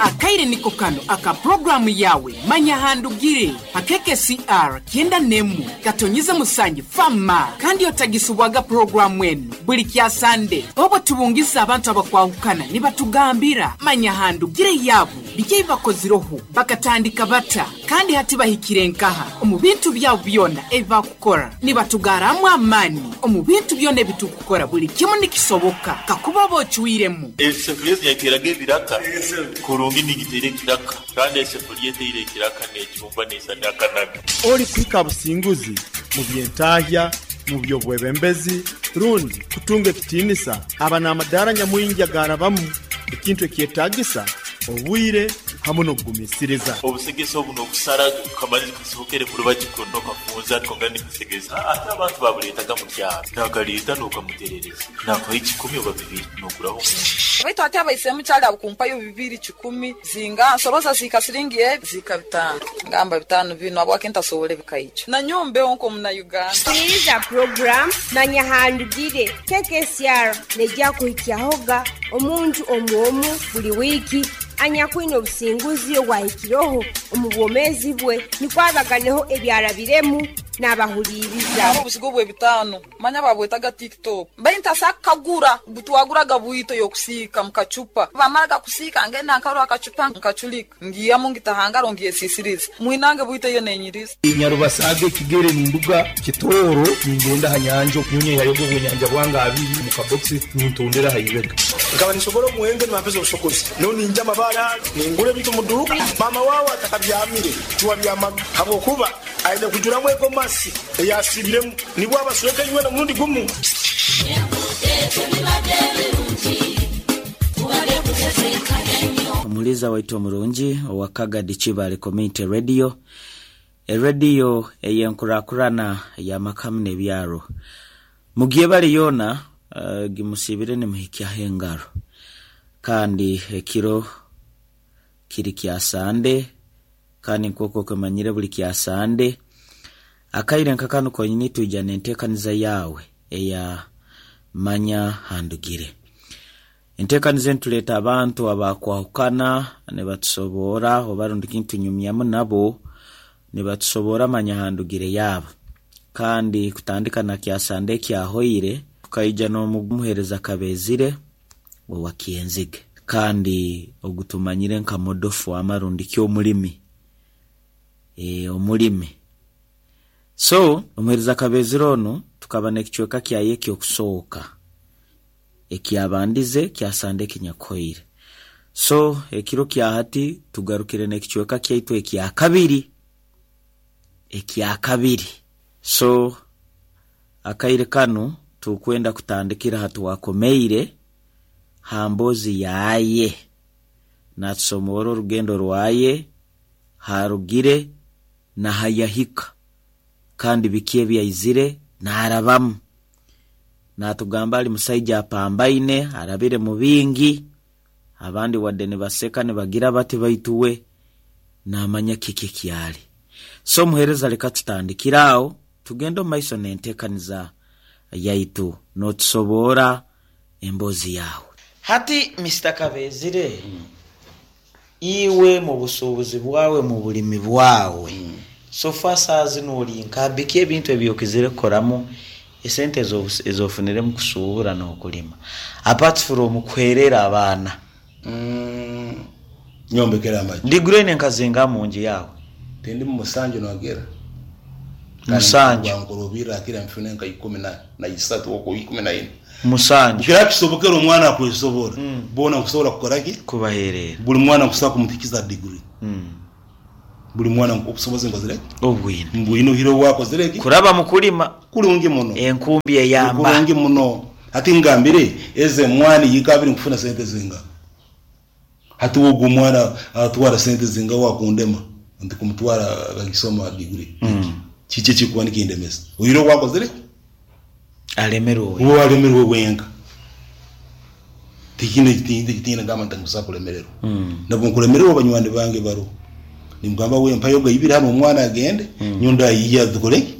Akaire niko kano aka puroguramu yawe Manya Handugire ha KKCR 91 katonyize musanju fama kandi otagisubwaga puroguramu enu buli kya Sande obwo tubungiza abantu abakwahukana nibatugambira Manya Handugire yabu biki ebibakozireho bakatandika bata kandi hati bahikire nkaha omu bintu byabo byona ebi bakukora nibatugaramu amaani omu bintu byona ebitukukora buli kimu nikisoboka kakuba oba ocwiremu. Esefuriya ezi nyateeraga ebiraka kurungi ningiteera ekiraka kandi esefuriya eteire ekiraka necumba neisana akanaga. Ori kuhika ha businguzi mu by'entahya, mu by'obwebembezi, rundi kutunga ekitiinisa aba n'amadaara nyamwingi agaarabamu, ekintu ekyetaagisa obwire hamu n'okugumiisiriza. Obusegesa obu n'okusara kamanyizi kasohokere kurubaju kunu okafunza twongera nikasegesa ate abantu babuleetaga mu kyaro nakaleeta n'okamuterereza nakuha ekikumi oba bibiri n'oguraho omuntu. Baitu hati abaisemu kyali abukumpayo bibiri kikumi zinga nsoroza zihika siringi ebi zihika 5 ngamba 5 binu habwaki ntasobora ebikaija nanyowe mbeho nk'omuna Uganda. Huliriza puroguramu Manya Handugire KKCR neija kuhikyahoga omuntu omu omu buli wiiki anyakwine obusinguzi obwahikireho omu bwomeezi bwe nukwo abaganeho ebyarabiremu n'abahuliiriza. Haro obuzigo bw'ebitaano manya babwetaga TikTok baitu ntasa kukagura butwaguraga bwito y'okusiika mu kacupa bamaraga kusiika ngenda nkarora akacupa nkaculika ngiyamu ngitahangaro ngyesisiriza mwinange bwito iyo nenyiriza. Nyarubasaga ekigere ninduga Kitooro ningenda ha nyanja nyonye yayoga obwenyanja bwange abiri mu kabokisi nintondera ha ibega. Nkaba nisobora omuwembe nibampeza obusokozi no ninja amabara ningura ebintu mu duuka mama wawe atakabyamire tiwabyamaga habwokuba aine kujuramu egomasi eyasibiremu nibwo abasweka inywena omurundi gumu. Omuliza waitu omurungi owa Kagadi Kibale Community Radio, erediyo ey'enkurakurana y'amakamu n'ebyaro. Mugyebale yoona gimusiibire nimuhikyaho engaro. Kandi ekiro kiri kya Sande, kandi nk'oku okimanyire buli kya Sande, akaire nka kanu konyini twija n'enteekaniza yaawe eya Manya Handugire. Enteekaniza enu tuleeta abantu abakwahukana nibatusoboora oba rundi kintunyumyamu nabo nibatusoboora Manya Handugire yaabo. Kandi kutandika na kya Sande ekyahoire, tukaija n'omuheereza Kabezire owa Kyenzige. Kandi ogu tumanyire nka modofu ama rundi ki omulimi. Omulimi. So, omuheereza Kabezire onu tukaba n'ekicweka kyaye eky'okusooka ekyabandize kya Sande ekinyakuhoire. So, ekiro kya hati tugarukire n'ekicweka kyaitu ekyakabiri. Ekyakabiri. So, akaire kanu tukwenda kutandikira ha twakomeire ha mboozi yaye. Naatusomoora orugendo rwaye, haarugire na hayahika kandi biki ebi aizire naarabamu. Naatugamba ali musaija apambaine, arabire mu bingi, abandi wadde nibaseka nibagira bati baitu we naamanya kiki ekyali. So omuheereza leka tutandikire aho tugende omu maiso n'enteekaniza yaitu n'otusoboora emboozi yaawe. Hati Mister Kabezire, iwe mu busuubuzi bwawe, mu bulimi bwawe, so far saaha zinu ori nka biki ebintu ebi okizire kukoramu esente ezi ofunire mu kusuubura n'okulima apart from kuheerera abaana? Nyombekere amaju. Diguri oine nka zingaha mu nju yaawe? Tindi mu musanju nogera. Musanju. Wankorobirra akira nfune nka 13 okwo 14. Musanju. Kira kisobokera omwana akwesobora. Bona nkusobora kukora ki? Kubaherera. Buli mwana nkusobola kumutikiza degree. Buli mwana obusobozi nkozire ki? Obwine. Mbwine ohire wakozire ki? Kuraba mu kulima. Kurungi muno. Enkumbi eyamba. Kurungi muno. Hati ngambire eze mwani yikabiri nkufuna sente zinga. Hati wogu omwana atwara sente zinga wakundema nti kumutwara akisoma degree. Kiki kikuba nikindemesa. Ohire wakozire ki? Alemerwe. Uwo alemerwe wenka. Tikine tikine gamba nti nkusa kulemererwa. Nabwo nkulemererwa banywani bange baro. Nimugamba we mpayo gaibira hano omwana agende nyonda yiya dukore.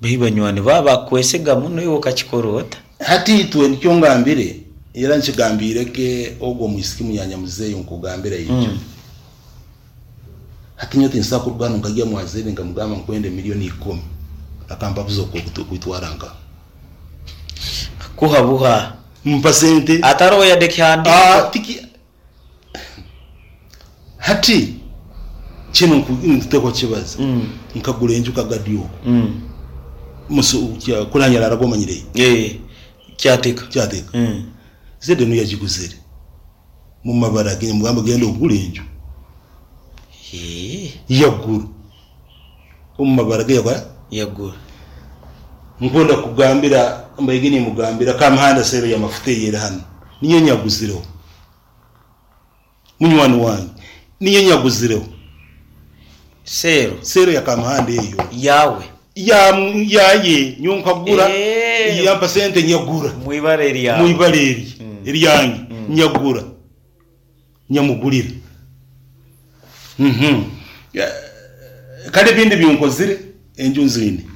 Bai banywani baba bakwesiga muno iwe okakikora ota? Hati itwe nikyo ngambire. Era nkigambirege ogwo omwisiki munyanya muzeeyi nkugambira ekyo. Hati nyowe tinsobola kuruga hanu nkagya mwazeire nkamugamba nkwenda 10,000,000 akampa buza okwitwara nka Kuha buha. Mpa sente. Ataroho yadde ekihandiiko. Tiki hati kinu nkutekwa kukibaza. Nkagura enju Kagadi oku. Kuranyarara gomanyire. Kyateka. Kyateka. Zede niyo yagiguzire. Mu mabara ge mugamba genda ogule enju. Yagura. Omu mabara ge yakora? Yagura. Nkwenda kugambira mbaige nimugambira Kamuhanda sero ya mafuta eyeri hano. Niyo nyaguzireho. Munywani wange. Niyo nyaguzireho. Sero. Sero ya Kamuhanda eyo. Yawe. Ya yaye nyo nkagura. Yampa sente nyagura. Mwibare eryawe. Mwibare eri. Eryange nyagura. Nyamugulira. Kale ebindi byonkozire enju nzine.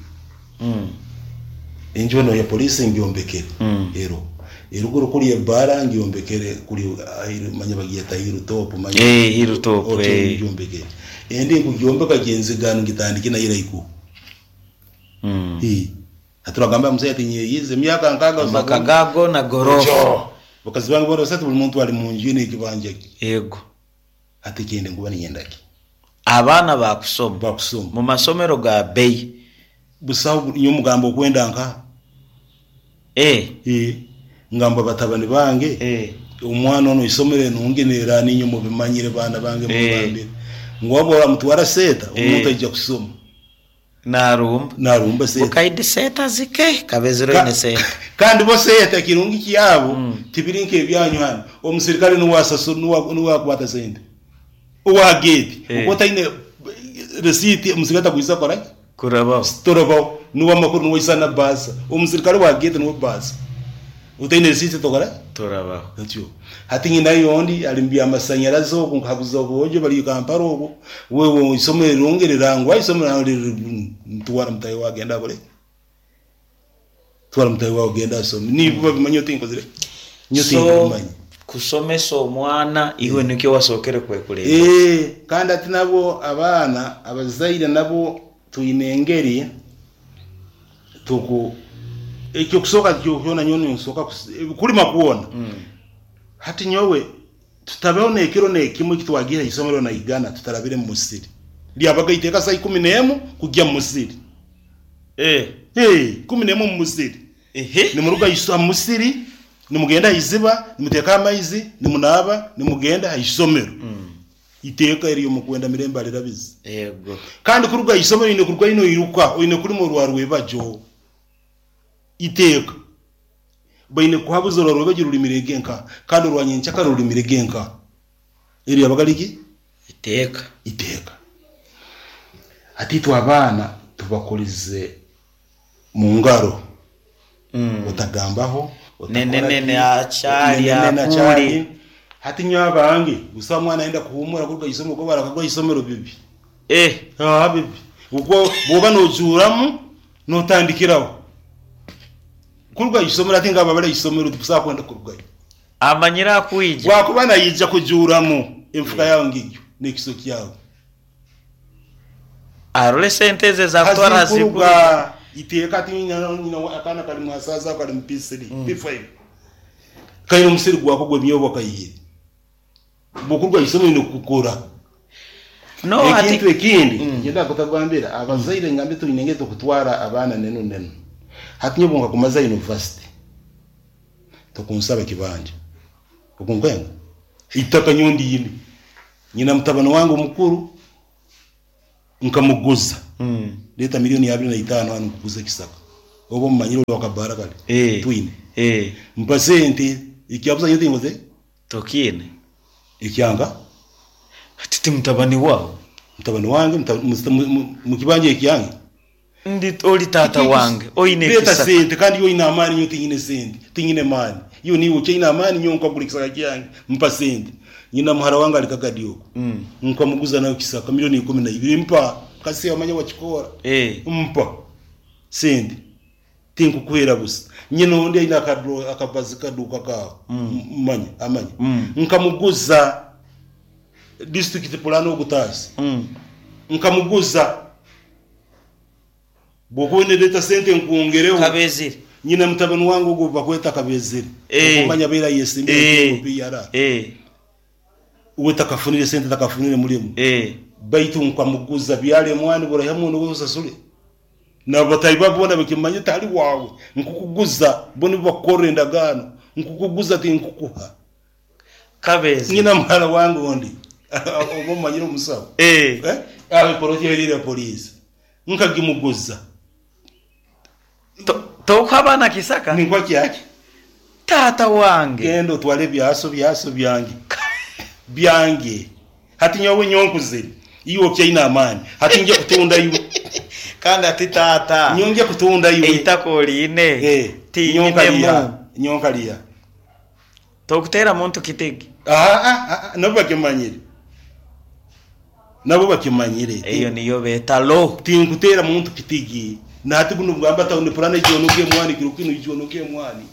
Enju eno ya polisi ngyombekere. Ero. Eruguru kuri ebara ngyombekere kuri manya bagiyeta Hill Top manya. Hill Top, Hotel ngyombekere. Endi nkugyombeka gyenzigano ngitandike na iraiku. Aturagamba mzee ati nyeyize myaka nkaga Amaka gago na gorofa. Bakazi bange bora sasa buli muntu ali mu nju n'ekibanja kye. Yego. Ati kende nkuba niyendaki. Abaana bakusoma. Bakusoma. Mu masomero ga bei. Busaho nyo mugambo okwenda nka. Ngamba batabani bange. Omwana ono isomero enungi nera ninyo mubimanyire baana bange mubambire. Ngwabo mutwara seta omuntu ajja kusoma. Narumba. Narumba seta. Bukaidi seta zike kabezero ine seta. Kandi bo seta kirungi kyabo tibirinke ebyanyu hano. Omusirikale nuwasasu nuwa kwata sente. Owa gate. Ukota ine receipt omusirikale takuiza kora. Kurabaho. Torobaho. Nuwa makuru nuwa isana basa. Omusirikale wa gate nuwa basa. Utaine receipt tokora? Torabaho. Atyo. Hati nyina yondi alimbya amasanyarazi oku nkabuza obuhojo bali Kampala oku. Wewe isomero rongerera ngwa isomero ntwara mutayi wagenda bole. Twara mutayi wagenda asome. Niba bimanyo tinkozire. Nyo tinkomanyi. Kusomesa omwana iwe nikyo wasokere kwekuleba. Kandi ati nabo abaana abazaire nabo tuine engeri tuku ekyo kusoka kyona nyono nsoka kulima kuona. Hati nyowe tutabeho nekiro nekimwe kitwagira isomero na igana tutarabire mu musiri. Lyabaga iteka saa 11 kujya mu musiri. 11 mu musiri. Nimuruga iswa musiri, nimugenda iziba, nimuteka amaizi, nimunaba, nimugenda isomero. Iteka eriyo mukwenda mirembe alirabizi. Yego. Kandi kuruga isomero ine kuruga ino iruka, ine kuri mu rwarwe bajo. Iteka baine kuhabuza orwo rulimire genka kandi orwanyencha karulimire genka eri abagaliki iteka iteka ati twabana tubakolize mu ngaro. Utagambaho nene achali akuri hati nyabange gusa mwana aenda kuhumura kuruga isomo ko barakagwa isomero bibi. Bibi ubwo boba nojuramu notandikiraho kuruga isomero ati ngaba bale isomero tubusa kwenda kurugayo amanyira kuija wakuba nayija kujuramu emfuka yawo ngiyo nekiso kyawo arole sente ze za kutwara zikuruga iteka ati nyina akana kali mwasaza kali mpisiri P5 kayo musiri gwako gwe myobo kayiye bokurwa isomero no kukora no ati ekintu ekindi ngenda kutagambira abazaire ngambe tuinengeze kutwara abana neno neno hati nyobonga kumaza university tokunsaba kibanja okunkenga itaka nyondi yini nyina mutabano wangu mukuru nkamuguza leta 25,000,000 hano kuguza kisaka obo mumanyiro wakabara kale twine mpasente ikyabuza nyote ngoze tokine ikyanga titi mutabani wawo mutabani wange mukibanja ikyange ndi oli tata wange oine kisaka leta sente kandi yo ina amani nyo tingine sente tingine mani yo ni uche ina amani nyo nkagula kisaka kyange mpa sente nyina muhara wange alikagadi nkamuguza nayo kisaka 12,000,000 mpa kasi amanya wachikora mpa sente Tinkukuhera busa. Nyina ondi aine akabazi kaduuka kaawe, manya amanya. Nkamuguza district plan ogutaasi. Nkamuguza. Bwokuba oine sente nkwongereho. Kabezire. Nyina mutabani wange ogwo bakweta Kabezire. Okumanya abaire ayesimbire PR. Uwe takafunire sente, takafunire mulimu. Baitu nkamuguza byala emwani buraihamu nobu osasule. Nabatahi babo boona bakimanya tali wawe. Nkukuguza bo nibo bakukorra endagaano. Nkukuguza tinkukuha. Kabezi. Nyina muhara wange ondi. Oba omanyire omusawo. Aho epoloti erire poliisi. Nkagimuguza. Tokuha abaana kisaka? Ninkwa kyaki? Taata wange. Genda otwale ebyaso byaso byange. Byange. Hati nyowe nyonkuzire. Iwe okyaine amaani. Hati nje kutunda iwe. Kandi ati taata. Nyonje kutunda iwe. Eitaka oliine. Tinyinemu. Nyonkaliya. Tokuteera muntu kitigi. Nabo bakimanyire. Nabo bakimanyire. Eyo niyo beeta lo. Tinkuteera muntu kitigi. Nahati buno bugamba tawuni purana ejonoke emwani kiro kinu ijonoke emwani.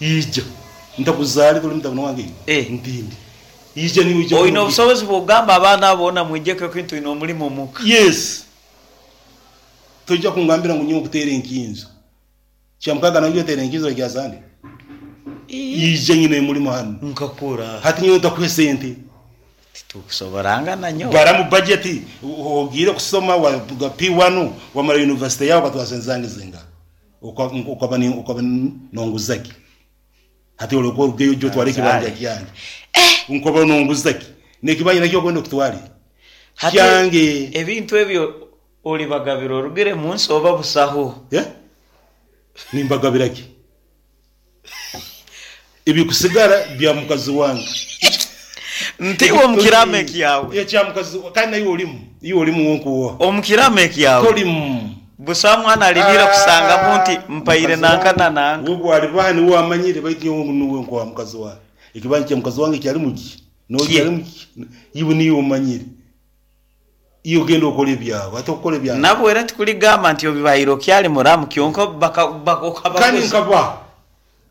Ija. Ntakuzale tuli mutabani wange. Ntindi. Ija niwe ija. Oine obusobozi bw'okugamba abaana boona mwijeko ekintu oine omulimu omuka. Yes. Tojja kungambira ngu nyowe nkuteera enkinzo. Kyamukaga nawe oteera enkinzo kya Sande. Ija nyine omulimu hanu. Nkakura. Hati nyowe ntakuha sente. Titukusoborangana nyowe. Baramu budget ogiire kusoma wa P1 wamara university yawe ukatwara sente zange zinga. Ukaba nonguzaki. Hati olwo orugeyo ojja otware ekibanja kyange. Nkoba nonguzaki. N'ekibanja nakyo okwenda okutware. Kyange. Ebintu ebyo olibagabira orugire munsi oba busaho. Nimbagabira ki? Ebikusigara bya mukazi wange. Ntiwe omukirame kyawe. Ekya mukazi kandi naye olimu. Iwe olimu wonkuwa. Omukirame kyawe. Tolimu. Busa mwana alibira kusanga munti mpaire nanka na nanka. Ubwo alibaha niwe amanyire baitu nyowe nuwe nkuwa mukazi wange. Ekibanja kya mukazi wange kyali muki. No kyali muki. Iwe niwe omanyire. Iyo ogenda okora ebyawe, ate okukora ebyawe. Nabwo era tikuligamba nti obibairo kyali muramu kyonka kandi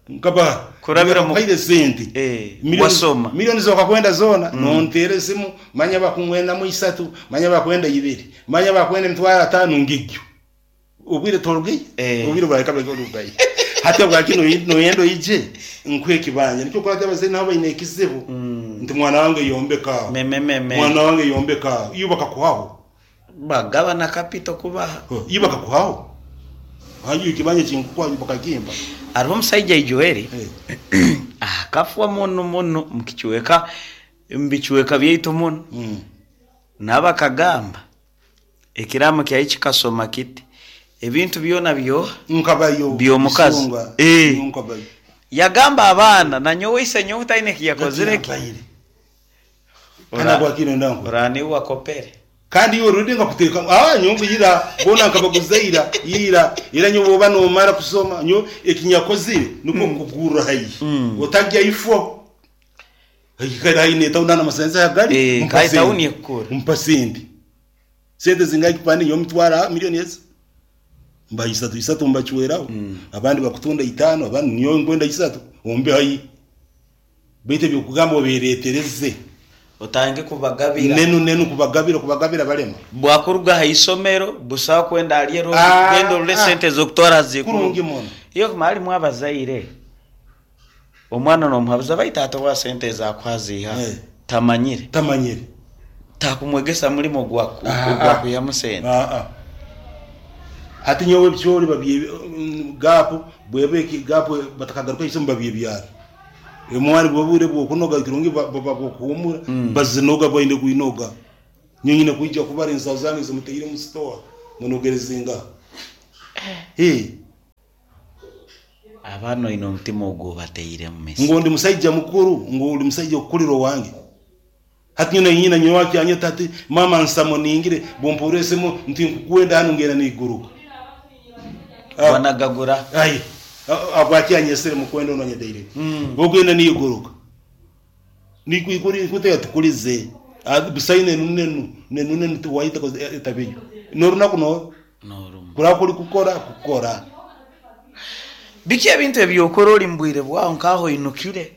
nkaba kurabira mu kaire sente. Wasoma. Milioni zokakwenda zona nontere simu manya bakumwenda mu 3 manya bakwenda 2 manya bakwenda 50,000 ngigyo. Obwire torugeye obwire bareka barugeye. Hata bwakino noyendo ije nkwe kibanja nikyo kurata abazee nabo baine ekizibu. Nti mwana wange yombeka. Meme. Mwana wange yombeka. Iyo bakakuhaho. Bagabana kapito kubaha. Iyo bakakuhaho. Hanyu ikibanja chinkukwa bakagimba. Ariho omusaija Joel. Akafwa muno muno mukichweka mbichweka byaitu muno. Nabakagamba ekiramo kyayi kikasoma kiti ebintu byona byo nkabayo byomukazi. Yagamba abaana na nyowe ise nyowe taine kiyakozire ki. Kana kwakino ndango. Urani wakopere. Kandi iyo rudi ngakuteka nyongo yira bona nkabaguzaira yira ira nyobo bano omara kusoma nyo ekinyakozire nuko kugura hayi. Otajya ifo. Hayikara hayi tauna na masenza yagali. Kai tauni ekukura. Mpasindi. Sente zingayi kupande nyo mtwara milioni ezi. Mba 3 mbachweraho. Abandi bakutunda 5 abandi niyo ngwenda 3 ombe hayi. Bete byokugamba oberetereze. Otange kubagabira. Nenu kubagabira balema. Bwakuruga ha isomero busawa kwenda aliero gendo rule sente zokutwara zikuru. Kurungi mono. Iyo kumali mwabazaire. Omwana no muhabuza baita atowa sente za kwaziha. Tamanyire. Tamanyire. Takumwegesa mulimo gwaku yamusente. Hati nyowe byori babye gapu bwebe ki gapu batakagaruka isomo babye byara. Emwani bwobure bwokunoga kirungi babakuhumura bazinoga bainde kuinoga. Nyonyine kuija kubara ensawo zange zimuteire mu store munogerezinga. Abano ino omutima ogwo bateire mu mesi. Ngo ndi musaija mukuru, ngo uli musaija okukuliro wange. Hati nyina nyina nyowaki anyeta ati mama nsamo ningire bomporesemo nti nkukwenda hano ngera niguruka. Wanagagura. Ai. Abwaki anyesere mukwenda ononye daire. Bogenda niguruka. Nikuikuri kuteka tukulize. Busaine nenu nenu tuwaita etabiyo. Noruna kuno. Norumu. Kurakuri kukora. Biki ebintu ebyokora oli mu bwire bwawe nkaho oinukire?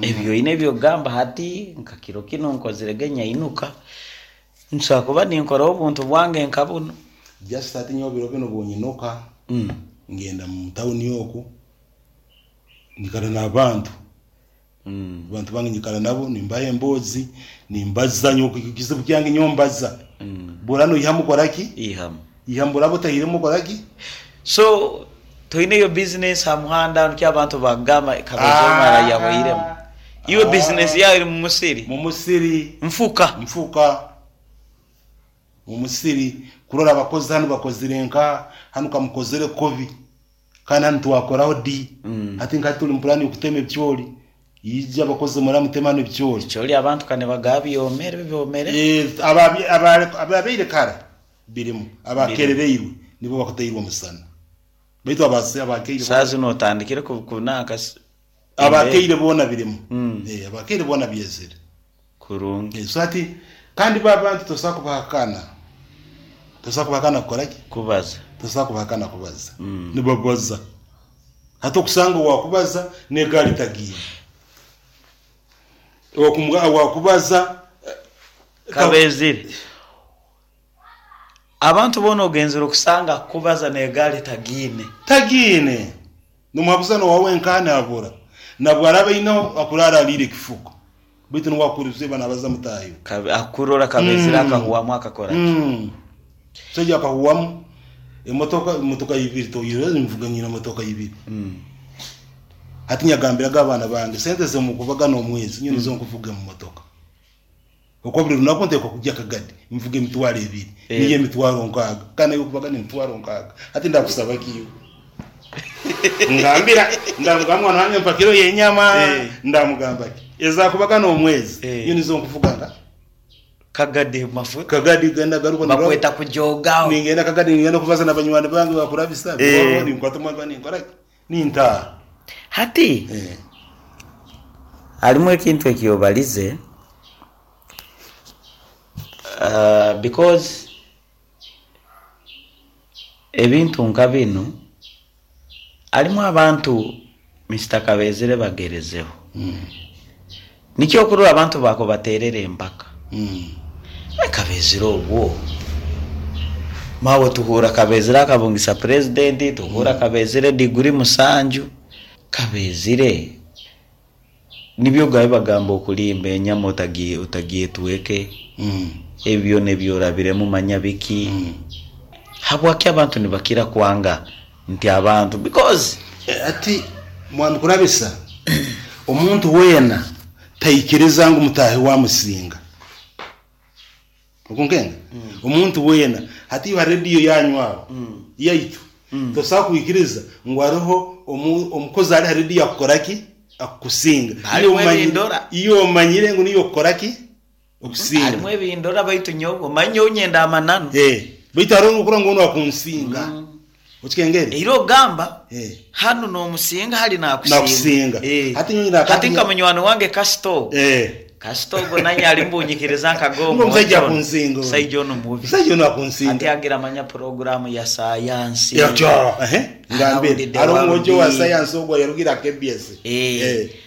Ebyo oine ebyokugamba hati nka kiro kinu nkozirege nyainuka, nsobora kuba ninkoraho obuntu bwange nka bunu. Just hati nyowe biro binu obunyinuka, ngenda mu tawuni oku, nyikara n'abantu. Abantu bange nyikara nabo nimbaha emboozi, nimbaza nyowe ekizibu kyange nyowe mbaza. Bw'oraba noihamu kora ki? Ihamu. Ihamu bw'oraba otaihiremu okora ki? So toineyo bizinesi ha muhanda nikyo abantu bakugamba Kabeezi omara yahoiremu. Iwe bizinesi yawe eri mu musiri? Mu musiri. Nfuka. Nfuka. Mu musiri kurora abakozi hanu bakozire nka hanu kamukozere kubi kandi hanu twakoraho di hati nka tuli mu pulani y'okutema ebicoori ija abakozi mura muteme hanu ebicoori. Ebicoori abantu ka nibagaba byomere byomere. Ababaire kara birimu abakerereirwe nibo bakutairwe omusana baitu abakaire Saaha zinu otandikire kunanka abakaire boona birimu abakaire boona byezere. Kurungi. So hati kandi bo abantu tosobola kubahakana, tosobola kubahakana kukora ki? Kubaza. Tosobola kubahakana kubaza. Nibabaza. Hati okusanga owakubaza n'egaari tagiine. Owakubaza Kabeezire. Abantu boona ogenzire okusanga akukubaza n'egaari tagiine. Tagiine. Nomuhabuza n'owawe nkaha nabura. Nabwo araba aineho akuraara ariire ekifuko. Baitu nuwe akuhuriza nabaza mutaahi we. Akurora Kabeezire akahuwamu akakora ki? Omusaija akahuwamu emotoka, emotoka ibiri toyire nvuga nyine emotoka ibiri. Hati nyagambiraga abaana bange sente ezimukubagana omwezi nyowe nizo nkuvuga omu motoka. Okwo buli lunaku nteekwa kugya Kagadi nvuga emitwaro ebiri, niyo emitwaro nkaaga, kandi naiwe okubagana emitwaro nkaaga. Hati ndakusaba ki iwe? Ngambira, ndamugamba mwana wange mpa kiro y'enyama, ndamugamba ki? Ezakubagana omwezi, nyowe nizo nkuvuga nka Kagadi mafuta. Kagadi genda garuka Bakweta kujogaho. Ningenda Kagadi ningenda kubaza na banywani bange bakurabisa, ninkwata omwana wange ninkora ki? Nintaaha. Hati harimu ekintu eki obarize because ebintu nka binu harimu abantu Mister Kabeezire bagerezeho. Nikyo okurora abantu bakubaterera empaka. Kabeezire obwo maawe tuhuura Kabeezire akabungisa purezidenti, tuhuura Kabeezire diguri musanju. Kabeezire nibyo gabi bagamba okulimba enyama otagyetweke, ebi byona ebi orabiremu manya biki. Habwaki abantu nibakira kwanga nti abantu because. Hati Mwami Kurabisa, omuntu weena taikiriza ngu mutaahi we amusinga. Okunkenga? Omuntu weena, hati iwe ha rediyo yanyu aho, yaitu, tosobola kwikiriza ngu hariho omukozi ali ha rediyo akukora ki? Akukusinga. Harimu ebindora. Iwe omanyire ngu niiwe okukora ki? Okusinga. Harimu ebindora baitu nyowe omanye nyowe nyenda amananu. Baitu hariho okurora ngu onu akunsinga. Okikengere? Era ogamba hanu nomusinga hali nakusinga. Nakusinga. Hati nyowe nyina Hati nka munywani wange kasita ogu. Kasita ogu nanye ali mbunyikiriza nkaga Ngo omusaija akunsinga. Omusaija onu mubi. Omusaija onu akunsinga. Hati agira amanya puroguramu ya sayansi. Yakyo. Ngambire. Hariho omwojo wa sayansi ogwo yarugire aha KBS.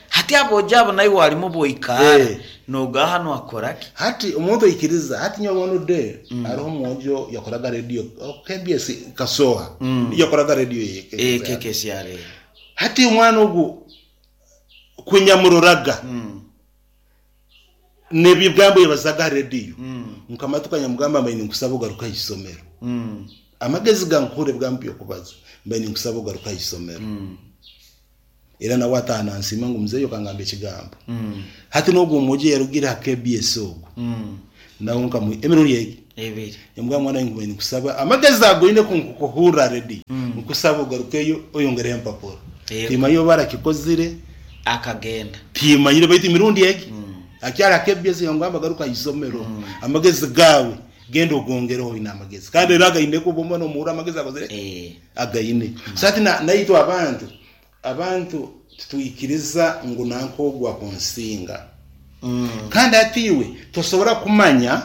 Hati aboojo abo naiwe harimu obwoikaara nogaha hanu akora ki? Hati omuntu aikiriza hati nyowe one day hariho omwojo yakoraga radio KBS Kasoha yakoraga radio ye KKCRA. Hati omwana ogu kunyamuroraga nebigambo yabazaga ha radio nkamatuka nyamugamba mbaire ninkusaba ogaruke aha isomero. Amagezi gankuhurra ebigambo byokubaza mbaire ninkusaba ogaruke aha isomero. Era nawe ataaha nansiima ngu muzeeyi okangamba ekigambo. Hati n'ogwo omwojo eyarugire ha KBS ogwo, nawe nkamuha emirundi egi. Ebiri. Nyamugamba mwana wange nkubaire ninkusaba amagezi ago oine kunkuhurra ha rediyo, nkusaba ogarukeyo oyongereho empapura. Timanyire oba arakikozire. Akagenda. Timanyire baitu emirundi egi akyali ha KBS yangamba garuka ha isomero, amagezi gaawe genda ogongereho oine amagezi. Kandi era againe obu oba nomuhurra amagezi akozire ki? Againe. So hati naitwe abantu Abantu titwikiriza ngu nanka ogu akunsinga. Kandi hati iwe tosobora kumanya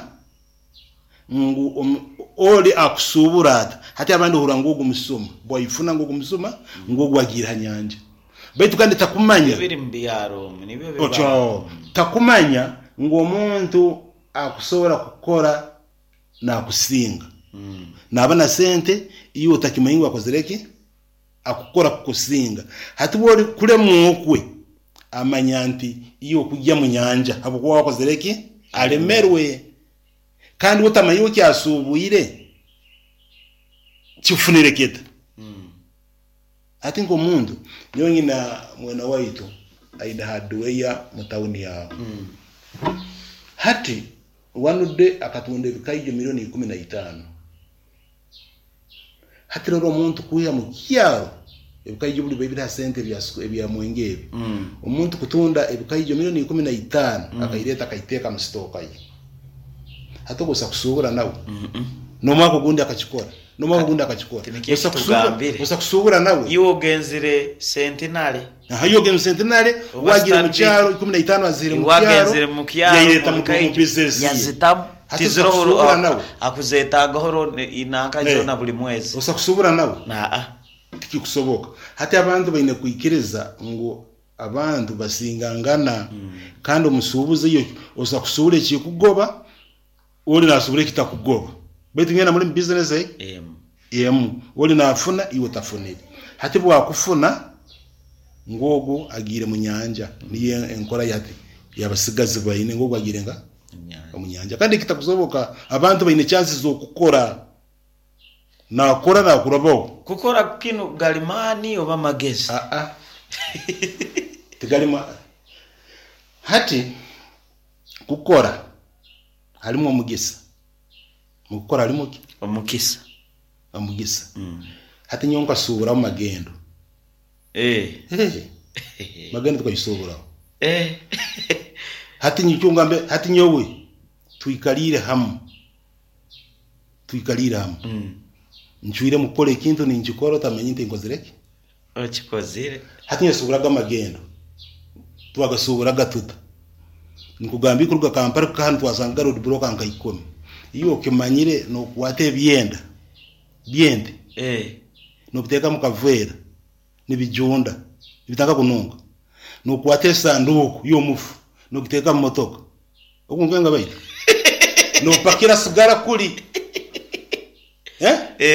ngu oli akusuubura ata. Hati abandi ohurra ngu ogu musuma, bwaifuna ngu ogu musuma, ngu ogu agiire ha nyanja. Baitu kandi takumanya. Ebiri mu byaro omu nibyo biba. Otyo, takumanya ngu omuntu akusobora kukora nakusinga. Naba na sente, iwe otakimanya ngu akozire ki? Akukora kukusinga. Hati bwori kulemwa okwe, amanya nti iwe okugya mu nyanja habwokuba wakozire ki? Alemerwe. Kandi we tamanya iwe ekyasuubwire kikufunire kita. Hati nk'omuntu, nyowe nyina mwena waitu aine hardware mu tawuni aho. Hati one day akatunda ebikaijo milioni 15. Hati rora omuntu kwiha mu kyaro ebikaijo buli biri ha sente ebya mwenge ebi. Omuntu kutunda ebikaijo milioni 15 akaireta akaiteeka mu sitooka ye. Hati ogwo osa kusuubura nawe. N'omwaka ogundi akakikora. N'omwaka ogundi akakikora. Tinikyo Osa ekitugambire. Osa kusuubura nawe. Iwe ogenzire Centenary. Aha, iwe ogenzire Centenary, Oba wagiire mu Stanbic. kyaro 15 aziire mu kyaro, Wagenzire mu kyaro yaireta mu mu bikaijo bizinesi ye. yazitamu. Hati osa Tiziroho kusuubura nawe. akuzetagaho nanka zona buli mwezi. Osa kusuubura nawe. Naa. Tikikusoboka. Hati abantu baine kwikiriza ngu abantu basingangana. Kandi omusuubuzi iyo osa kusuubura ekikugoba, ori nasuubura ekitakugoba. Baitu mwena muri mu bizinesi Emu. Emu. Ori nafuna, iwe otafunire. Hati bwakufuna, ngu ogu agiire mu nyanja. Niyo enkora yati yabasigazi baine ngu ogu agiire nga omu nyanja. Kandi ekitakusoboka, abantu baine chances z'okukora. Nakora nakurabaho. Kukora kinu galimani oba magezi? Aa. Tigalima. Hati kukora halimu omugisa. Mukukora halimu ki? Omukisa. Omugisa. Hati nyowe nkasuuburaho magendo. Magendo tukagisuuburaho. Hati nikyo ngambe, hati nyowe tuikaliire hamu. Tuikaliire hamu. Ncwire mukukora ekintu ninkikora otamanya nti nkozire ki? Okikozire. Hati nyesuuburaga amagendo. Twagasuuburaga tuta. Nikugamba kuruga Kampala kuka hanu twasanga road block nka 10. Iyo okimanyire nokwata ebyenda byente. Nobiteeka mu kaveera nibijunda nibitanga kununga. Nokwata esanduku y'omufu nogiteeka mu motoka. Okunkenga baita. Nopakira sigara kuli.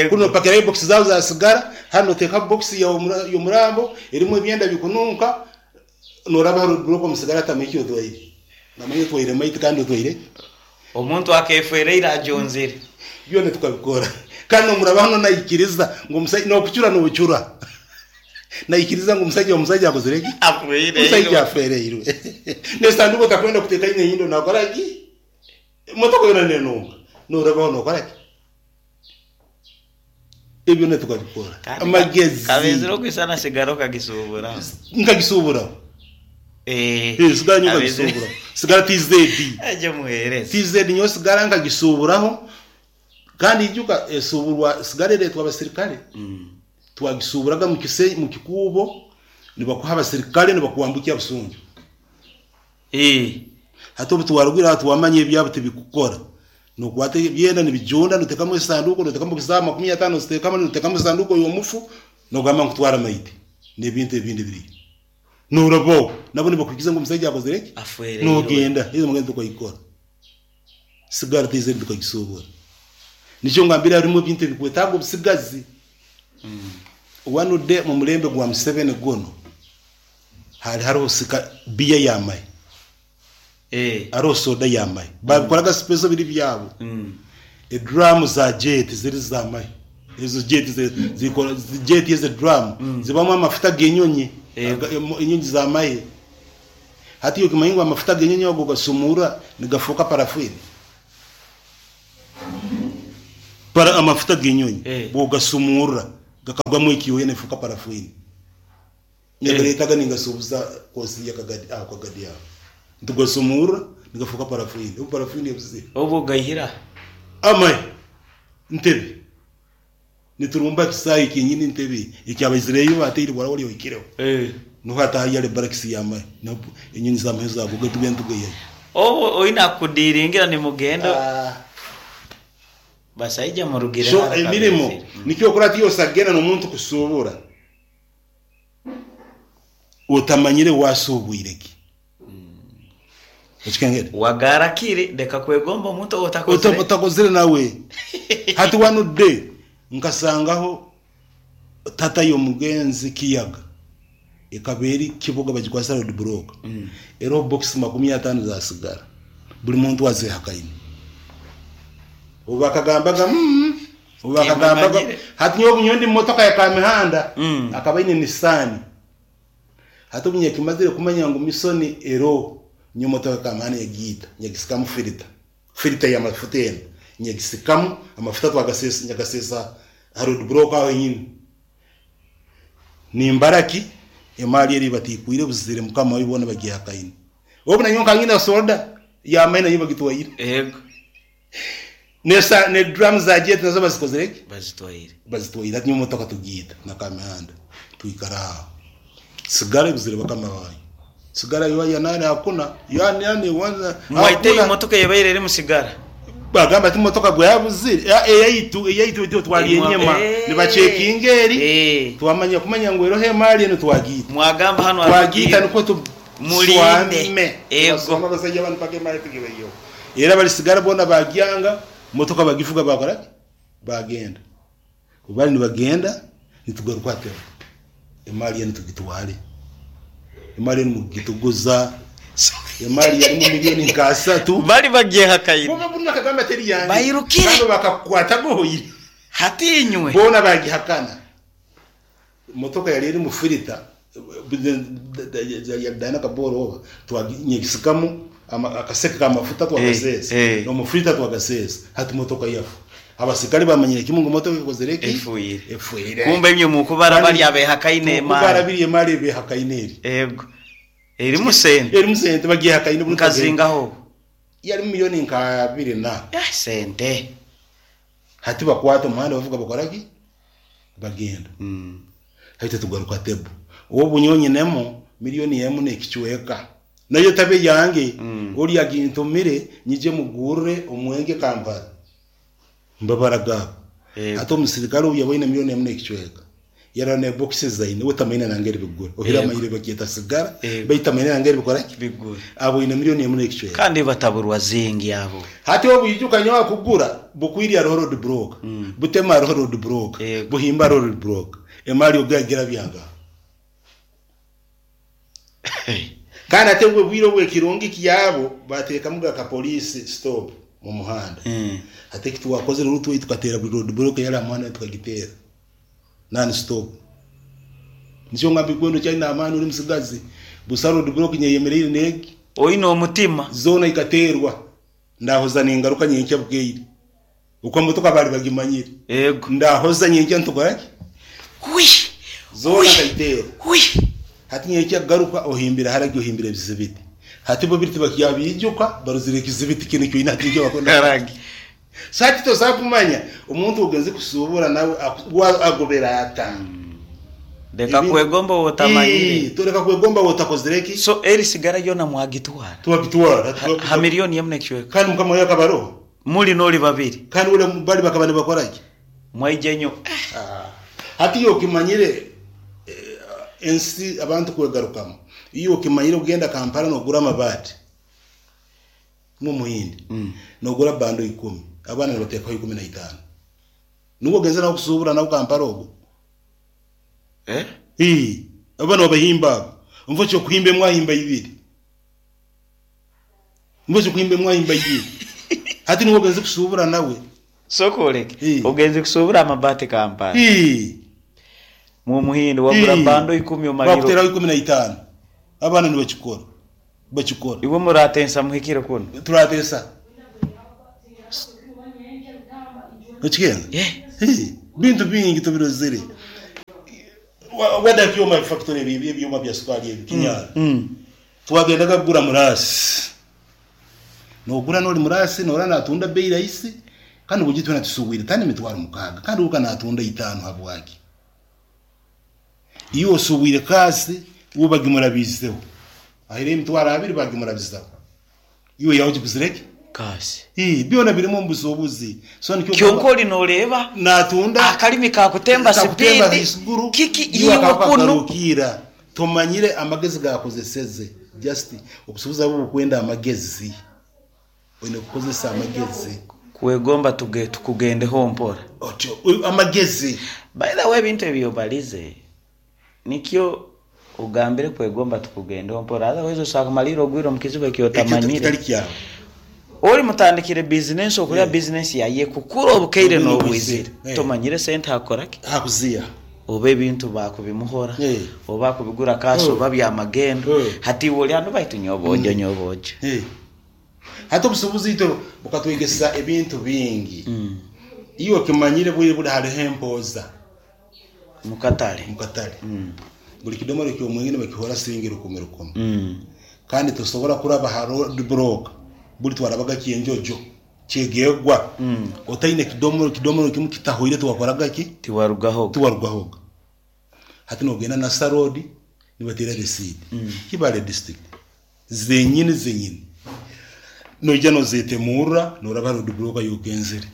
Kuno nopakira box zao za sigara, hano noteka box y'omurambo erimu ebyenda bikununka, noraba road block omu sigara tamiki otwaire. Namanya otwaire maiti kandi otwaire. Omuntu akefereire ajonzire. Byona tukabikora. Kandi omuraba hano naikiriza ngu omusajja nokucura nobucura. Naikiriza ngu omusajja akozire ki? Afereirwe. Omusajja afereirwe. Nesanduko takwenda kuteka ine yindo nakora ki? Motoka yona nenunga. Noraba hano nokora ki? Ebyo ne tukabikora. Amagezi. Kabezero kwisana sigara kagisubura. Nkagisubura. Sigara nyo kagisubura. Sigara TZ. Aje muhereza. TZ nyo sigara nkagisuburaho. Kandi ijuka esuburwa sigara eretwa abasirikale. Twagisuburaga mu kise mu kikubo nibakuha abasirikale nibakuwambukia busunju. Hati obu twarugwira twamanye ebyabo tibikukora. Nokwata byenda nibijunda notekamu esanduko notekamu kisaba 50 notekamu notekamu esanduko y'omufu nogamba nkutwara maiti n'ebintu ebindi biri. Norabo nabo nibakukiza ngo omusajja akozire ki? Afereirwe. Nogenda hizo mugenda tukayikora. Sigara tize tukagisubura. Nikyo ngambira harimu ebintu ebikwetaaga obusigazi. One day mu mulembe gwa Museveni guno hari hariho sika biya yamaye. Ariho soda yamaye. Babikoraga special biri byabo. Edrum za jet ziri zamaye. Ezo jet zikora jet ze drum zibamo amafuta genyonyi. Inyonyi zamaye. Hati yo kimayingo amafuta genyonyi ago gasumura nigafuka parafini. Para amafuta genyonyi bogasumura gakagwamo ikiyo nefuka parafini. Nyagaretaga ningasubuza kosi yakagadi akagadi yawo. Tugasumura nigafuka parafini. Ubu parafini yabuze. Obu gahira. Amai. Ntebe. Niturumba kisayi kinyini ntebe ikyabazireyo batiri bora wali oikireho. Nuko atahayale barakisi yamai. Napo enyonyi zamahe zabo gatugenda tugaye. Obu oina kudiringira ni mugendo. Basaija murugire So hara emirimo kabizire. Nikyo okora ati osagenda n'omuntu kusuubura otamanyire wasuubwire ki. Ekikengere Wagarakire leka kwegomba omuntu otakozire. Otakozire nawe. Hati wanudde nkasangaho tata y'omugenzi Kiyaga ekaba eri Kiboga, bagikwasa road block, eroho box 50 za sigara, buli muntu azehakaine. Obu bakagambaga obu bakagambaga Timumanyire. Hati nyowe bunyowe ndi mumotoka ya Kamihanda, akaba aine Nissan. Hati obu nyakimazire kumanya ngu misoni ero nyo motoka ya Kamihanda yagiita, nyagisikamu filita, filita y'amafuta eno nyagisikamu amafuta, twagasesa, nyagasesa ha road block aho nyine. Nimbaraki emali eri batikwire buzire mukama wibona bagihakaine. Obu nanyo nkangina soda yamaina yo bagitwaire. Yego. Nesa ne drum za jet nazo bazikozereki? Bazitwaire. Bazitwaire. Ati motoka tugiita na Kamihanda, twikara aho, sigara buzire bakama bayo, sigara yo ya nani hakuna yani yani wanza. Mwaite Hakuna. Emotoka yebaire eri musigara. Bagamba ati motoka gwabuzire eyaitu, eyaitu ityo twali enyema. Nibachekinga eri twamanya kumanya ngu eroho emali eno twagiita. Mwagamba hano Twagiita nukwo tu Mulinde. swame. Ego. Twaswama abasajja bano paka emali tugibayo, era balisigara bona bagyanga motoka bagifuga, bakora bagenda. Bali nibagenda nitugaruka atero emali eno tugitwale, emali eno mugituguza, emali yali mu miliyoni nka 3. Bali bagiye hakaine. Bo buna kagamba teri yange. Bayirukire. Bano bakakwata gohoyire. Hatinywe. Bona bagihakana. Motoka yali eri mu filita yadana kaboro oba twaginyigisikamu akaseke k'amafuta twagasesa nomufilita twagasesa. Hati motoka yafu abasikari bamanyire kimwe ngo motoka ikozereki? Efuire. Efuire. Kumbe imwe mukubara bali abehakaine Tukubara emali. biri emali ebehakaine eri. Ego. Eri musente. Eri musente bagihakaine. Nkazingaho. Yali miliyoni nka 2 na sente. Hati bakwata omuhanda bavuga bakoraki bagenda. Hati tugaruka tebu obu nyonyinemo miliyoni emu n'ekicweka nayo tabe yange, oli agintumire nyije mugurre omwenge Kampala mbabara gabo. Hati omusirikale obu yaboine miliyoni emu n'ekicweka yara ne boxes zaine wetamaine nangeri bigura ohira amayire bakyeta sigara baitamaine nangeri bikoraki bigura aboine miliyoni emu n'ekicweka. Kandi bataburwa zingi abo. Hati obu yijuka nyawa kugura bukwiri hariho road block, butema hariho road block, buhimba hariho road block, emali ogagira byanga. Kandi ate bwe bwire obwekirungi kyabo batekamu ka police stop mu muhanda. Ate kitwakozere rutwe tukatera buri road block yari amuhanda tukagitera non stop. Nico ngambi kwendo cyari amani uri musigazi busa road block nyeyemerere negi Oine omutima. Zona ikaterwa ndahoza ningaruka nyenkya bweire uko motoka bari bagimanyire. Yego. Ndahoza nyenkya ntukoraki Wi. Zona kayitera. Wi. Hati nyenkya garuka ohimbira haragi ohimbira ebizibiti. Hati bo biriti bakyabijuka baruzire ekizibiti kino kyo ina kijya bakona haragi. Sati tosakumanya omuntu ogenze kusubura nawe agobera ata. Leka kwegomba wotamanyire. Tureka kwegomba wotakozereki. So eri sigara yona mwagitwara. Twagitwara. Ha miliyoni emu n'ekicweka. Kandi mukama yakabaro Muli noli babiri. Kandi ule bali bakaba nibakoraki. Mwaije nyo. Hati iyo okimanyire ensi abantu kwegarukamu, iyo okimanyire ogenda Kampala nogura amabati n'omuhindi, nogura bando 10, abaana nibateekaho 15, nubwo ogenze nawe kusubura nawe Kampala ogwo. Abaana babahimba abo nvo kyokuhimba emwahimba ibiri, nvo kyokuhimba emwahimba ibiri. Hati nubwo ogenze kusubura nawe. Sokoleke ogenze kusubura amabati Kampala mu muhindo wagura bando 10 omaliro. Bakuteraho 15, abaana nibakikora bakikora. Iwe muratensa muhikire kuno. Turatesa okigenda bintu bingi tubirozere. Wada byoma factory ebi ebyoma bya sukali ebi kinyara twagendaga kugura murasi, nogura noli murasi nora natunda bei rahisi, kandi ubugitwe natusubwire tani mitwaro 6, kandi uka natunda 5 habwaki iyo usubwire kasi ubagimura bizeho ahire imitwaro 2 bagimura bizeho iyo yawe kiguzireke. Kasi. Byona birimu omu busuubuzi. So nikyo Kyonka oli noreeba natunda akalimi kakutemba kakutemba sipiidi haiguru, kiki iwe iwe akaba kunu kagarukira. Tomanyire amagezi gakozeseze. Just obusuubuzi abo bukwenda amagezi. Oine kukozesa amagezi. Kwegomba tukugendeho mpora. Otyo, amagezi. By the way, ebintu ebyo balize nikyo ogambire kwegomba tukugendeho mpora, otherwise osanga kumalira ogwire omu kizibu ekyotamanyire. Kitali kyawe. Oli mutandikire business okulya business yaye kukura obukaire Obwire n'obwizire. obwizire. Tomanyire sente akoraki Hakuziya. Oba ebintu bakubimuhora oba kubigura kasi oba byamagendo. Hati iwe oli anu baitu nyobojo nyobojo. Hati obusuubuzi itwe bukatwegesa ebintu bingi. Iwe okimanyire bwire buli hariho empoza mukatale. Mukatale. Buli kidomoro ky'omwengine bakihora siringi rukumi rukumi. Kandi tosobora kuraba ha road block buli twarabaga kyenjojo kyegegwa. Otaine kidomoro, kidomoro kimu kitahoire tiwakoraga ki? Tiwarugahoga. Tiwarugahoga. Hati nogenda na sarodi nibatera receipt. Kibale district zenyini zenyini. Noija nozetemurra noraba road block yokenzere.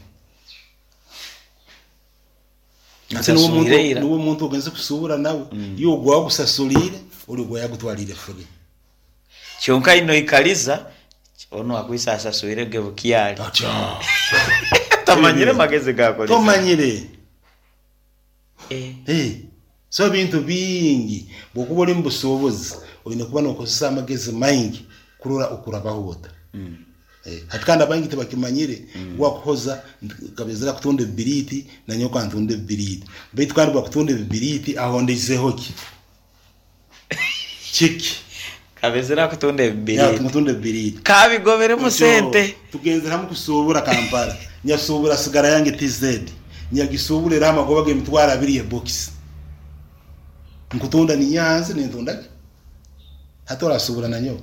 Ate nuwe muntu Nsasuliire ira. Nuwe muntu ogenze kusubura nawe. Iyo ogwa kusasulire oli ogwa yagutwalire free. Kyonka ino ikaliza ono akwisa asasuire ge bukyali. Acha. Tamanyire magezi gakolesa. Tomanyire. So bintu bingi bwokuba oli mu busuubuzi olina kuba nokozesa amagezi maingi kurora okurabaho ota. Hati kandi abaingi tibakimanyire. Wakuhoza kabezera kutunda ebibiriti nanyoka ntunda ebibiriti, baitu kandi bwakutunda ebibiriti ahondeizeho ki kiki? Kabezera kutunda ebibiriti. Kutunda ebibiriti kabigoberemu sente. Tugenzera hamu kusuubura Kampala, nyasuubura sigara yange TZ, nyagisuubura era amagoba g'emitwaro abiri ebokisi nkutunda ninyanzi nintunda ki hati orasuubura nanyowe.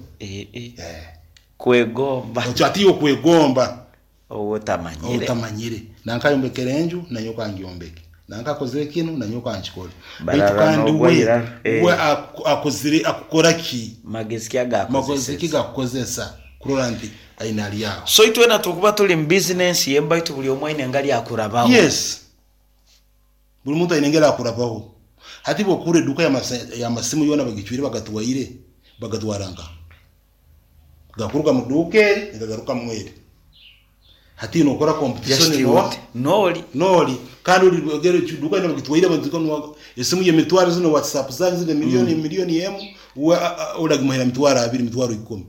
Kwegomba. Otyo ati okwegomba owotamanyire. Otamanyire nankayombekera enju nanyoka ngyombeke, nankakozere kinu nanyoka nkikole, baitu Barara kandi n'ogwa we irara. We akozire akukora ki? Magezi ki agakozesa? Magezi ki gakukozesa kurora nti aina ali aho. So itwena tukuba tuli mu business yembaitu buli omwe aine engeri akurabaho. Yes, buli muntu aine engeri akurabaho. Hati bwokura eduka y'amasimu yona bagicwire bagatwaire bagatwara nka gakuruga mu duka eri nigagaruka mweri. Hati nokora competition Just nowa what? Noli. Noli kandi uri ogere duka ino bagitwaire bagitwara esimu ye mitwaro zino WhatsApp zanyu zino miliyoni miliyoni yemu uragimuhera mitwaro abiri mitwaro 10.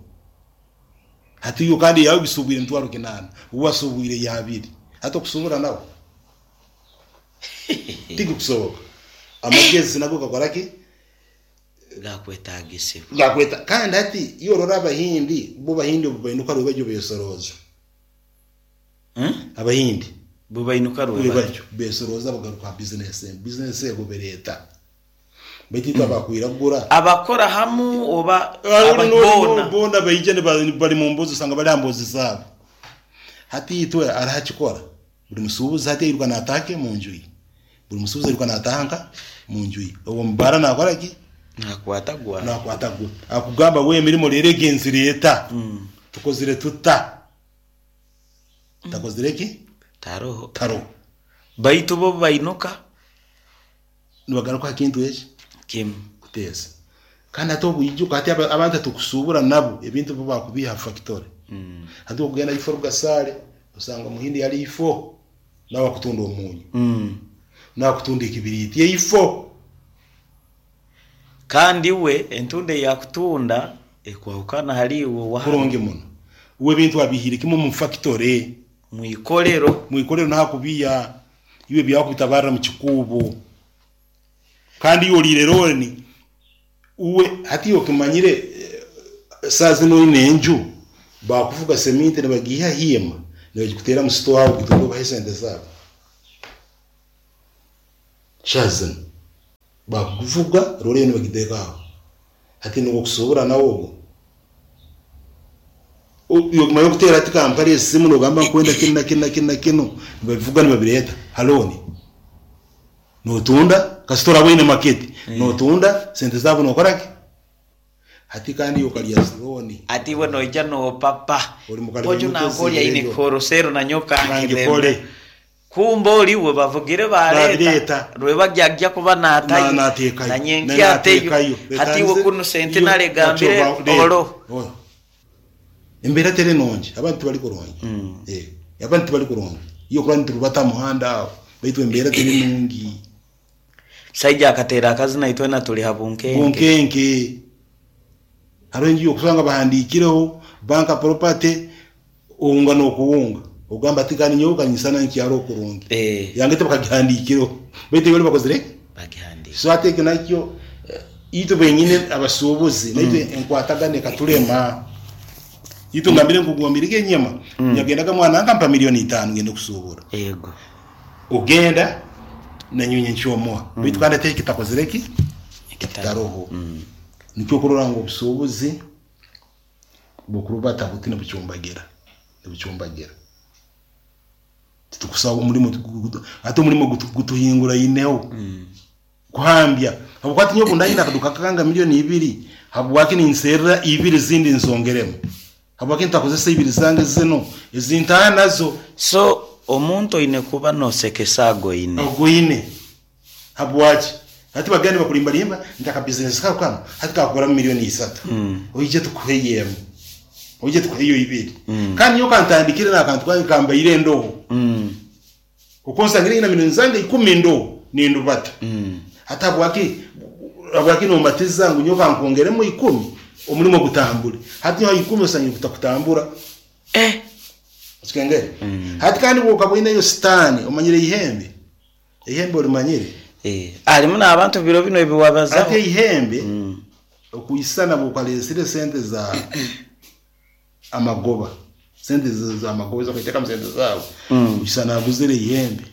Hati yo kandi yawe bisubwire mitwaro 8 uwasubwire ya abiri. Hati okusubura nawe tigi kusoboka. Amagezi nago gakora ki? Gakwetagisibwa. Gakweta. Kandi hati iyo urora abahindi bo bahindi bainuka rwebajyo besoroza. Abahindi bo bainuka rwebajyo rwebajyo besoroza bagaruka business business egobereta. Baitu mm. Abakwiragura abakora hamu oba ababona bona baije bali mu mbuzi usanga bali ambuzi zabo. Hati itwe arahakikora buli musubuzi hati yiruka natake mu nju ye. Buli musubuzi yiruka natanka mu nju ye. Uwo mubara nakora ki? Nakwata gwa. Nakwata gwa. Akugamba we emirimo rero egenzi leta. Tukozire tuta. Takozire ki? Taroho. Taroho. Baitu bo bainuka nibagaruka kintu eki? Kimu. Kuteza. Kandi ate obuijuka hati abantu tukusubura nabo ebintu bo bakubiha factory. Hati okugenda ifo rugasale usanga omuhindi yali ifo nawe akutunda omunyu. Nawe akutunda ekibiriti yeifo. Kandi we entunde yakutunda ekwahukana hali iwe wa kurungi muno. We bintu abihire kimwe mu factory mwikolero mwikolero nakubiya iwe byakubitabarra mu kikubo. Kandi iyo olire roni uwe hati okimanyire saa zino ine enju bakuvuga seminti nibagiha hima nibagikutera mu store aho kutunga bahe sente zabo. Shazin bakuvuga rore nibagiteka aho. Hati nuko kusobora nawo ubwo iyo kumayo kutera ati kampari esimu nogamba nkwenda kino na kino na kino na kino nibabivuga nibabireta haloni notunda kasitora wine market notunda sente zabo nokoraki. Hati kandi okalya zironi. Ati iwe noija nopapa. Oli mukali Oju muto nanka oli aine ezireyo. kikorosero nanyowe kankirembe. Kankikole. Kumbe oli we bavugire baleeta. Babireeta. Rwebagyo kuba natayo. Nateekayo. Nanyenkya ateyo. Nateekayo. Hati iwe kunu sente nalegambire olo. Embeera teri nungi, abantu tibali kurungi. Abantu tibali kurungi. Iyo kurani turubata muhanda aho. Baitu embeera teri nungi. Saija akateera akazina itwena tuli ha bunkenke. Bunkenke. Hariho enju yokusanga bahandiikireho banka property owunga n'okuwunga. Ogamba ati kandi nyowe kanyisana nkyaro okurungi. Yange tebakagihandiikireho. Baitu bali bakozire? Bagihandiika. So ate ekyo nakyo itwe benyine abasuubuzi naitwe enkwatagana ekatulema. Itwe ngambire nkugambire enyama. Nyagendaga mwana nkampa 5,000,000 ngende kusuubura. Yego. Ogenda nanyonye nkyomuha. Baitu kandi ate kitakozire ki? Kitaroho. Nikyo kurora ngu obusuubuzi bukurubata buti nibucumbagira. Nibucumbagira. Titukusaba omulimo ate omulimo gutuhingura ineho. Kuhambya. Habwokuba nyowe ndayina akaduka kanga 2,000,000 habwaki ninserera 2 zindi nsongeremu. Habwaki ntakozesa 2 zange zino ezintaha nazo. So omuntu oine kuba nosekesa agoine. Agoine. Habwaki? Hati bagende bakulimbalimba ntaka business kako kano hati kakugura 3,000,000. Oije tukuheyemu. Oije tukuheyo 2. Kandi nyowe kantandikire n'akantu kange kambaire endobo. Okonsangira ina milioni zange 10 ndobo nindubata. Hata habwaki nombatiza ngu nyowe kankongeremu 10 omulimo gutambule. Hati nyowe 10 osangire kutakutambura. Sikengere. Hati kandi bwokabwine yo sitani omanyire ihembe. Ihembe olimanyire. Alimu n'abantu biro bino ebiwabazaho. Ate ihembe okuyisana bwokalesire sente za amagoba. Sente za amagoba zo sente zawe. Uyisana aguzire ihembe.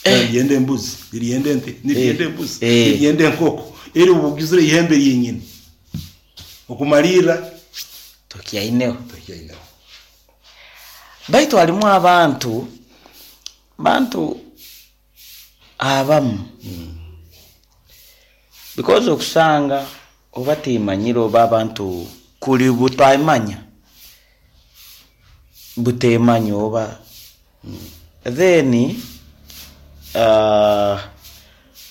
Yende embuzi, yende ente, yende embuzi, yende enkoko. Eri ubugizire ihembe yenyine. Okumalira tokyaineho. Tokyaineho. Baitu alimu abantu bantu abamu. Because okusanga oba timanyire oba abantu kuli butamanya. Butemanya oba. Then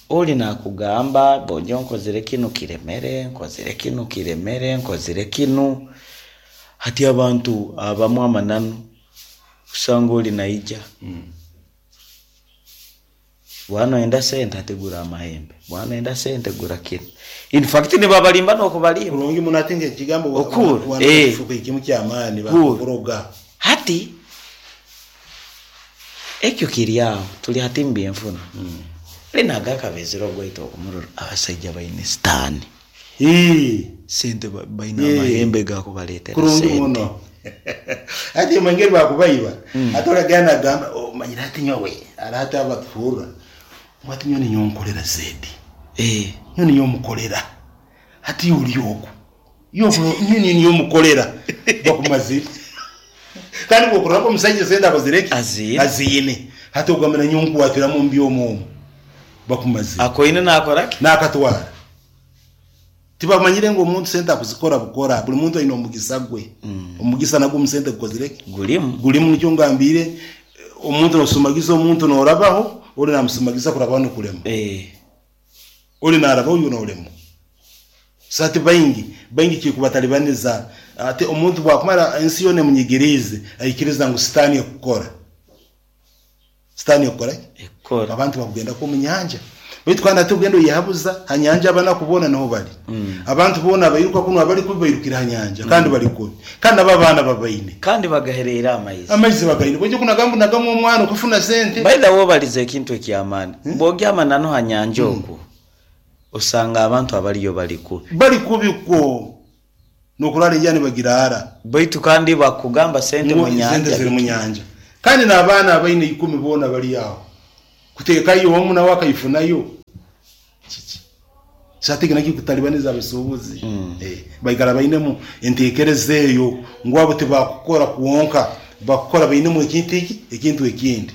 oli nakugamba bonjo nkozire kinu kiremere, nkozire kinu kiremere, nkozire kinu. Hati abantu abamu amananu kusanga oli naija. Bwana enda sente ategura amahembe. Bwana enda sente gura kinu. In fact ni babalimba n'okubalimba. Kurungi munatinga ekigambo Okuru. Fuka ekimu ky'amaani bakuroga. Hati ekyo kiri aho tuli hati mbyenfuna. Linaga akabezero ogwaita okumurora abasajja baine sitaani. Sente baine amahembe gakubaleetera Kurungi sente. muno. Ati mwengeri bakubaiba. Ate olagana agamba omanyire ati nyowe arate abatuhurra. Mwati nyowe ninyonkolera zedi. Nyowe ninyomukolera. Hati uli oku. Yo nyowe ninyomukolera. Bakumazire. Kandi bwokurora omusajja sente akozireki? Azine. Azine. Hati ogambira nyonkuwatira mu mbyomo. Bakumazire. Akoine nakoraki? Nakatwara. Tibamanyire ngo omuntu sente akuzikora bukora. Buli muntu aine omugisa gwe. Omugisa nagwo omusente gukozireki? Gulimu. Gulimu nikyo ngambire omuntu nosumagiza omuntu norabaho, oli namusumagiza kurabaho nikulema. Oli narabaho uyu nolema. Sati baingi kikubatalibaniza ate omuntu bwakumara ensi yone munyigirize aikiriza ngu sitani ekukora. Sitani ekukora? Ekukora. Abantu bakugenda ko munyanja. Baitu kandi ate ugenda oyehabuza hanyanja abana kubona niho bali. Abantu bona abayiruka kuno abali kubairukira hanyanja kandi bali kubi. Kandi aba bana babaine. Kandi bagaherera amaizi. Amaizi bagaine. Bwije kunagamba nagamu omwana okufuna sente. By the way balize ekintu ekyamaani. Bwogyama nano hanyanja okwo. Osanga abantu abaliyo bali kubi. Bali kubi ko. Nokurara ejani bagirara. Baitu kandi bakugamba sente mu nyanja. Sente ziri mu nyanja. Kandi n'abaana abaine 10 bona bali aho. Kutekayo omu nawe akayifunayo. Kiki. Satike naki kutalibaniza abasuubuzi. Baikara bainemu entekereza eyo ngu abo tibakukora kuwonka, bakukora bainemu ekintu iki, ekintu ekindi.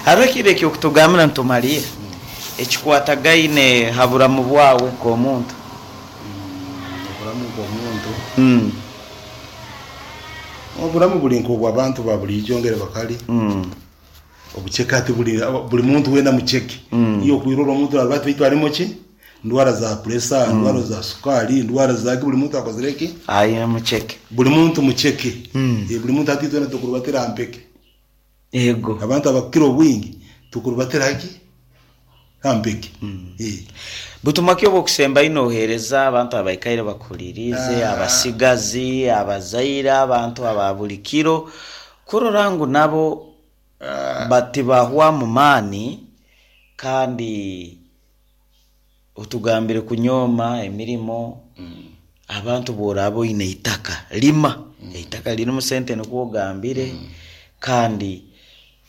Hariho ekiro ekyokutugambira nitumalira. Ekikwatagaine ha buramu bwawe nk'omuntu. Oburamu bw'omuntu oburamu buli nk'obw'abantu ba buliijo ngeri bakali. Obuceke hati buli buli muntu weena muceke. Iwe okwirora omuntu narora ati baitu alimu ki? Ndwara za pressure, ndwara za sukaali, ndwara zaki buli muntu akozire ki? Aine muceke. Buli muntu muceke. Buli muntu hati itwena tukurubatira ha mpeke. Ego. Abantu abakukira obwingi tukurubatira haki? Ha mpeke. Butumwa ki obwokusembayo noheereza abantu abaikaire bakuhuliriize, abasigazi, abazaire, abantu aba buli kiro, kurora ngu nabo batibahwamu maani kandi otugambire kunyooma emirimo, abantu bworaaba oine eitaka lima, eitaka lirimu sente nikwo ogambire, kandi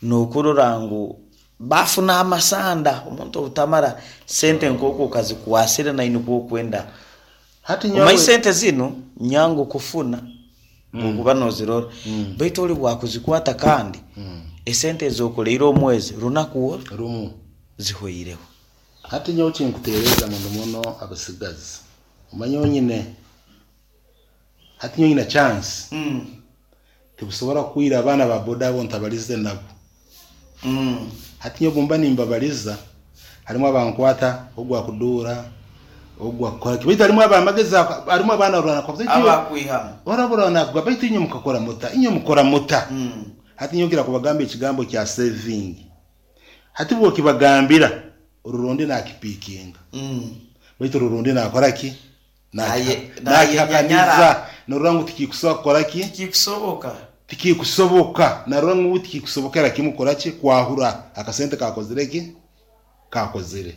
n'okurora ngu bafuna amasanda, omuntu obutamara sente nk'oku okazikwasire nainwe nikwo okwenda. Hati Omanyi nyowe sente zinu nyangu kufuna bwokuba nozirora, baitu oli bwakuzikwata kandi esente ezokoleire omwezi runaku oru rumu zihoireho. Hati nyowe kinkuteereza muno muno abasigazi. Omanye onyine hati nyowe nyina chance tibusobora kwira abaana ba boda abo ntabalize nabo. Hati nyowe bumba nimbabaliza harimu abankwata ogu akuduura ogu akukora ki baitu harimu abamagezi harimu abaana orwana Abakwihamu. orabura nakuga baitu inywe mukakora muta inywe mukora muta. Hati nyowe ngira kubagamba ekigambo kya saving. Hati bwokibagambira orurundi nakipikinga. Baitu orurundi nakora ki? Nakihakaniza. Norora ngu tikikusoboka kukora ki? Tikikusoboka. Tikikusoboka. Narora ngu tikikusobokera kimu kukora ki? Kwahura akasente kakozire ki? Kakozire.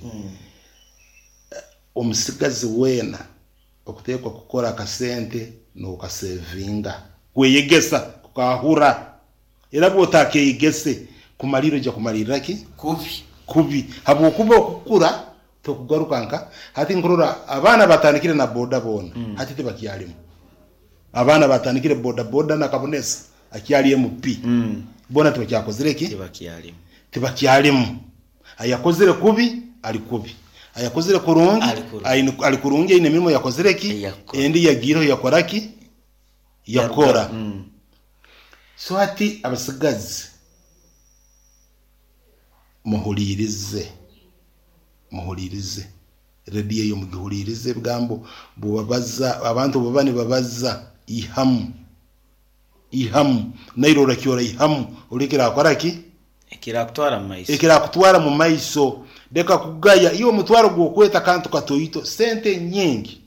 Omusigazi weena okuteekwa kukora akasente n'okasevinga. Kweyegesa kukahura. Era bw'otakeyegese kumalirra ojja kumalirra ki? Kubi. Kubi. Habwokuba okukura tokugaruka nka hati nkurora abaana batandikire na boda boona hati tibakyalimu. Abaana batandikire boda boda na Kabonesa akyali MP. Boona tibakyakozire ki? Tibakyalimu. Tibakyalimu. Ayakozire kubi ali kubi. Ayakozire kurungi ali kurungi aine emirimo yakozire ki? Endi yagiireho yakora ki? Yakora. So hati abasigazi muhuliirize, muhuliirize rediyo eyo mugihuliirize ebigambo bubabaza abantu baba nibabaza ihamu ihamu naire orakyora ihamu olekere akora ki? Ekirakutwara mu maiso. Ekirakutwara mu maiso. Leka kugaya iwe omutwaro gw'okweta akantu katoito sente nyingi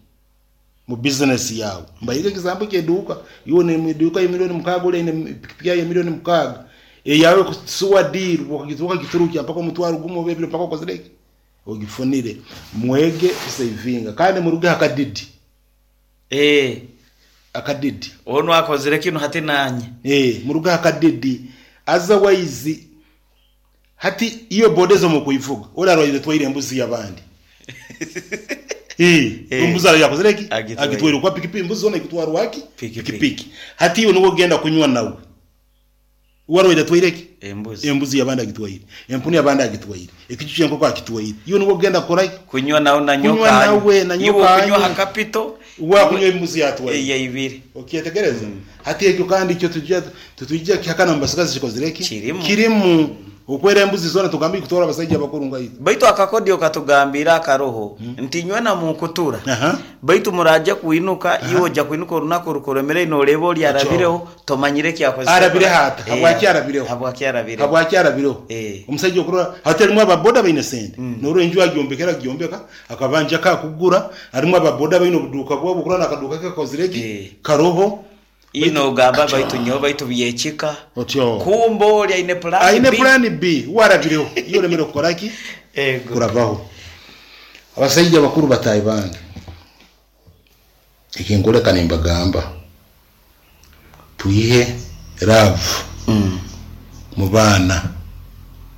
mu bizinesi yawe. Mbaire ekigambo ky'eduuka iwe oine eduuka ya milioni 6 oli aine pikipiki yawe ya milioni 6 eyawe kusuwa diiru okagiturukya mpaka omutwaro gumu oba ebiri mpaka okozire ki? Ogifunire. Mwege kusevinga kandi muruge akadidi. Akadidi. Onu akozire kinu hati nanye. Muruge akadidi. Otherwise hati iyo boda ezo mukuivuga oli arwaire twaire embuzi y'abandi. Embuzi arayo yakozire ki? Agitwaire kwa pikipiki embuzi zona ikutwarwa ki? Pikipiki. Hati iwe niwe ogenda kunywa nawe. Warwaire twaire ki? Embuzi. Embuzi y'abandi agitwaire. Empunu y'abandi agitwaire. Ekiju ky'enkoko akitwaire. Iwe niwe ogenda kukora ki? Kunywa nawe na Kunywa nyoka nawe na Iwe nyoka okunywa anywe. ha kapito. Wakunywa embuzi yatwaire. Eyaibire. Okyetegereza? Hati ekyo kandi kyo tutujja kihakana mu basigazi kikozire ki? Kirimu. Kirimu. Okwera embuzi zona tugambe ikutwara abasajja abakuru ngaito. Baitu akakodio katugambira akaroho nti nywe na munkutura. Baitu muraje kuinuka iwe ojja kuinuka orunaku rukuremere noreba oli arabireho tomanyire ekyakozese. Arabireho ata? Habwaki arabireho? Habwaki arabireho? Habwaki arabireho? Omusajja okurora hati harimu ababoda baine sente. Norora enju agyombekera agyombeka akabanja kakugura harimu ababoda baine obuduuka bwabo okurora nakaduuka ke kakozire ki? Karoho. Ino ogamba baitu nyowe baitu byekika. Otyo. Kumbe oli aine plan Aine B. plan B warabireho. Iyo oremere kukora ki? Kurabaho. Abasajja bakuru batayi bange. Ekinkuleka nimbagamba. Tuihe love mu baana.